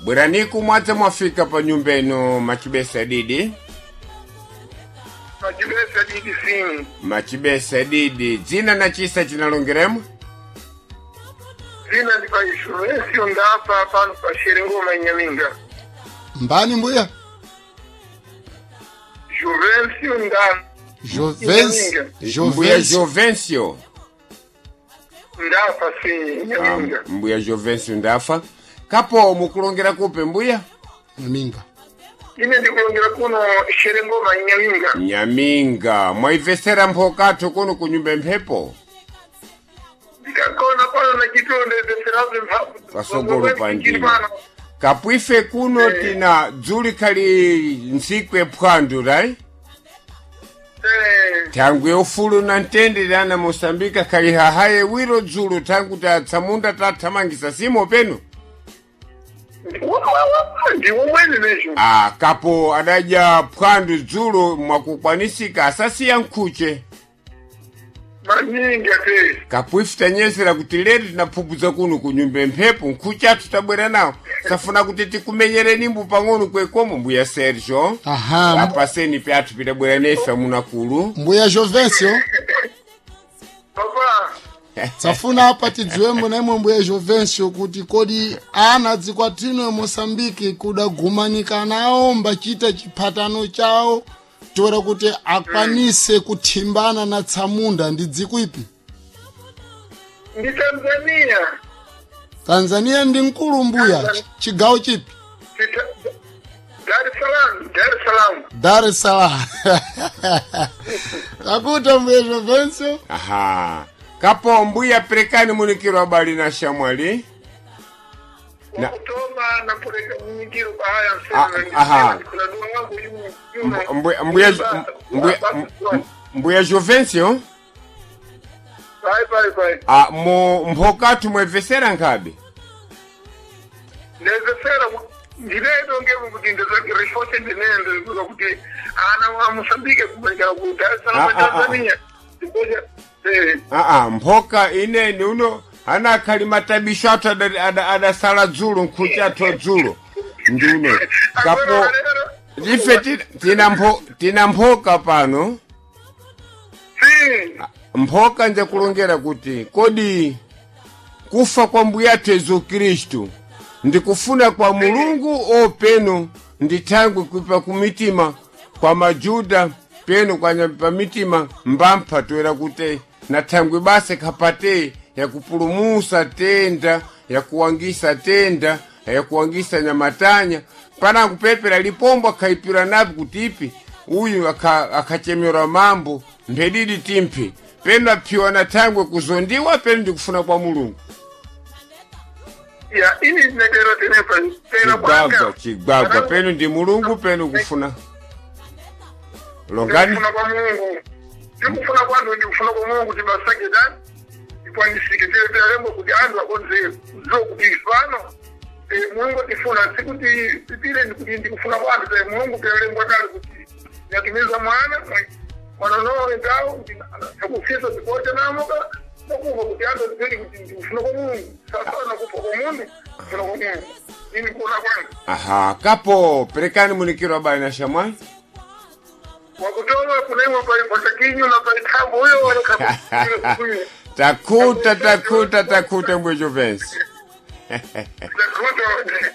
Bweraniku mwadze mwafika pa nyumba ino machibesa didi. Machibesa didi sim. Machibesa didi dzina na chisa chinalongeremo. Zina ndi pa Juvencio Ndafa pano pa Xerengoma Inhaminga. Mbani mbuya? Juvencio Ndafa. Jovencio. Mbuya Jovencio. Jovencio. Ndafa sim, Inhaminga. Ah, mbuya Jovencio Ndafa. Kapo mukulongera kupe mbuya? Nyaminga. Ine ndikulongera kuno Xerengoma Inhaminga. Nyaminga. Mwaivesera mphokathu kuno kunyumba mphepo. Ndikakona pano na chitonde zeserazo mphamvu. Pasogolo pa ndima. Kapwife kuno tina dzuli khali ntsiku ephwandu right? Eh, Thangwi ufulu na mtendere ana Mosambika khali hahaye wiro dzulo thangu tatsamunda tathamangisa simo peno. ndiwo mwene mesho. Ah, kapo adadya phwandu dzulo mwakukwanisika asasiya nkhuche. Maningi ate. Kapwife tanyesera kuti lero tinaphuphuza kuno kunyumba mphepo nkhuche athu tabwera nawo safuna kuti tikumenyereni mbu pang'ono kwekomo mbuya Sergio. Aha. Apaseni pyathu pitabwera nefe amunakulu. Mbuya Jovencio. Papa. Tsafuna apa tidziwembo naimwe mbuya Jovencio kuti kodi ana dzikwatino Mosambiki kudagumanika nawo mbachita chiphatano chawo toera kuti akwanise kuthimbana na tsamunda ndi dziko ipi? Ndi Tanzania. Tanzania ndi mkulu mbuya. Chigawo chipi? Dar es Salaam, Dar es Salaam. Dar es Salaam. Takuta mbuya Jovencio. Aha. Kapo mbuya perekani munikiro abali na shamwali. Na- Wakutoma na pureka munikiro pahaya Ah, msema. aha. Kuladua wangu yuno. Mbuya mbuya mbuya mbuya Jovencio. Pai, pai, pai. Ah, mu mphokathu mwevesera nkhabe. Ndezesera ndileto ngemu kuti ndezakirifose ndinende kuti ana wa Mosambike kumanikira ku Dar es Salaam Ah, ah, ah. Tanzania. Ndipoja eh Ah ah, mphoka ineni uno ana khali matabisho athu adasala dzulo nkhuchi athu adzulo ndi uno. Kapo ife tina mphoka pano. Si. Mphoka nje kulongera kuti kodi kufa kwa mbuyathu Yesu Khristu ndikufuna kwa Mulungu openo ndi thangwi kuipa kumitima kwa majuda peno kwa pa mitima mbampha toera kuti na thangwi base khapate yakupulumusa tenda yakuwangisa tenda yakuwangisa nyamatanya pana kupepera lipombo akhaipira napi kuti ipi uyu akhachemerwa mambo mphedidi timphe peno aphiwa na thangwe kuzondiwa peno ndikufuna kwa Mulungu. Ya ini ndinetero tenepa tena Chigwagwa chigwagwa peno ndi Mulungu peno kufuna longani. Ndikufuna kwa Mungu. Ndikufuna kwanthu ndikufuna kwa Mulungu kuti basake tani ikwanisike tilembo kuti anthu akonze kudziwa kuti ifano Mulungu atifuna sikuti tipire ndikuti ndikufuna kwanthu te Mulungu tilembo kale kuti natumiza mwana mwana nowe ndawo takufisa tikote namoka nakuva kuti anthu atipere kuti ndikufuna kwa Mulungu sasa nakufa kwa mundu kufuna kwa Mulungu ini kuona kwangu. Aha, kapo perekani munikiro abali na shamwali. Wakutoa kunaimwa patakinyu na paitambo huyo wala Takuta takuta takuta mbuya Jovencio. Takuta.